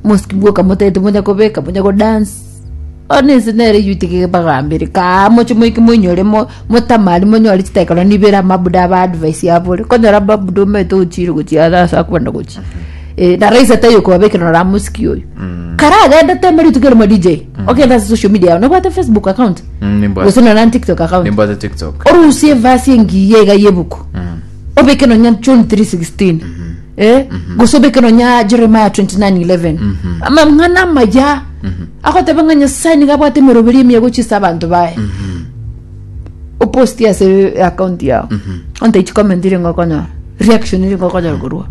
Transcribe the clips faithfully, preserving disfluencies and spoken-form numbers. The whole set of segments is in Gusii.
Mosiki bwoka motagete monya kobeka, monya kodance. Bono ense nere eywo itige bagambere kaa moche moike moinyore mo motamari monyore chidakika nonya ibere amabuda aba advice abore. Konyora amabuda omanyete ochire gochia ase ase akobanda gochia. Eh, na rahisi taiyo kobabekera nora mosiki oyo. Karagende teme rituko erimo D J, ogende ase social media yao, nobwate Facebook account? Mm, nimbwate. Gose nonya na TikTok account? Nimbwate TikTok. Orusie evasi engiya iga y'ebuku. Obeke nonya John three sixteen. Eh? Gose obeke nonya Jeremiah twenty nine eleven. Amang'ana amaya. Agoteba ng'a Nyasaye nigo abwate emeroberi emiya gochia ase abanto baye. Oposti ase account yao. Onte chicomment ringo okonyora. Reaction ringo okonyora korwa.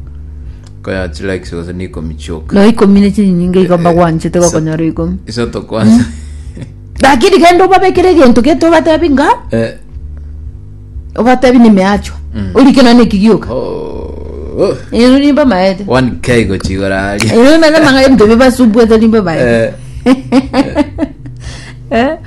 Koya chi likes gose ni ikomi chioka. No ikomi ne chinyinge igo mbagwanchete gokonyora ikomi. Isoto kwanza. Lakini genda obabekere egento gete obatebi nga Eh. obatebi nimeachwa. Orike nonye neki gioka. Oh. Ero nimba maete. one K gochigora aria. Ero nimba manga ebinto bibasubwete nimba maete. Eh. Eh?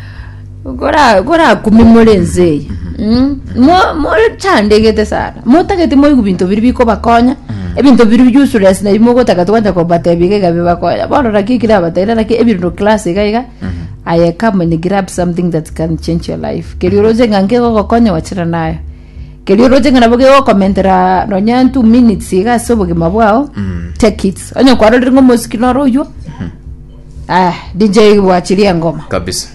Kora kora kumi more ense eye. Mm. Mo mochandegete sana. Motagete moigu binto biri bikobakonya. Ebinto biri useless na mogotaka twancha kobatebia iga iga bibakonya. Bono naki ekero abateire naki ebinto class iga iga. Aye come and grab something that can change your life. Keri oroche ng'a nkegogokonya wachana nayo. Keri oroche ng'a nabo kegokomentera nonya two minutes iga ase obogima bwao. Take it. Onye kwarorire ng'a omosiki noro oywo. Ah, D J bwachirie engoma. Kabisa.